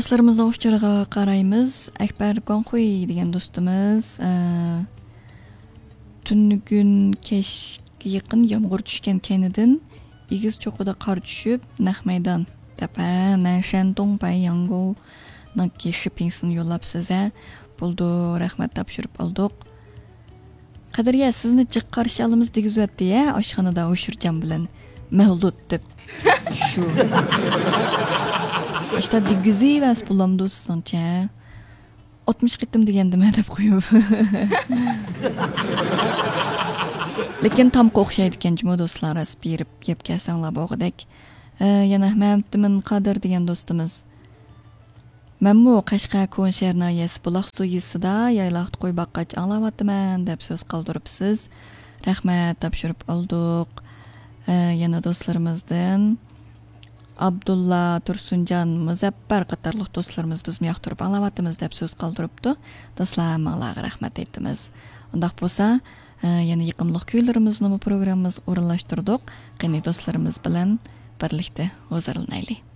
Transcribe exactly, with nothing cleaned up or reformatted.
دوستلىرىمىزنىڭ ئۇچۇرىغا قارايمىز. ئەكبەر گۇاڭخۇي دېگەن دوستىمىز، ئە، تۈنۈگۈن كەچكە يېقىن يامغۇر چۈشكەن كەينىدىن ئېگىز چوققىدا قار چۈشۈپ، نەق مەيدان دەپ، ھە، نەنشەندۇڭ باي ياڭگۇنىڭكى شىپىڭسىنى يوللاپسىز، ھە. بولدى، رەھمەت، تاپشۇرۇپ ئالدۇق. قەدرىيە، سىزنى جىق قارشى ئالىمىز دېگۈزۈۋەتتى، ھە، ئاشخانىدا ھوشۇرجان بىلەن مەۋلۇت دەپ. شۇ. ئاشتا دېگۈزۈۋەرسە بولامدۇ سىزنىڭچە؟ ئاتمىش قېتىم دېگەندىمەن دەپ قويۇپ. لېكىن تامغا ئوخشايدىكەن جۇمۇ دوستلار، راست بېرىپ يەپ كەلسەڭلار بولغۇدەك. ئە، يەنە مەمتىمىن قادىر دېگەن دوستىمىز. مەنمۇ قەشقەر كونا شەھەر ناھىيەسى بۇلاقسۇ يېزىسىدا يايلاقتا قوي باققاچ ئاڭلاۋاتىمەن دەپ سۆز قالدۇرۇپسىز. رەھمەت، تاپشۇرۇپ ئالدۇق. ئە، يەنە دوستلىرىمىزدىن ئابدۇللا، تۇرسۇنجان، مۇزەپپەر قاتارلىق دوستلىرىمىز بىزمۇ ياقتۇرۇپ ئاڭلاۋاتىمىز دەپ سۆز قالدۇرۇپتۇ. دوستلار، ھەممىڭلارغا رەھمەت ئېيتىمىز. ئۇنداق بولسا، ئە، يەنە يېقىملىق كۈيلىرىمىزنىمۇ پروگراممىمىزغا ئورۇنلاشتۇردۇق. قېنى، دوستلىرىمىز بىلەن بىرلىكتە ھۇزۇرلىنايلى.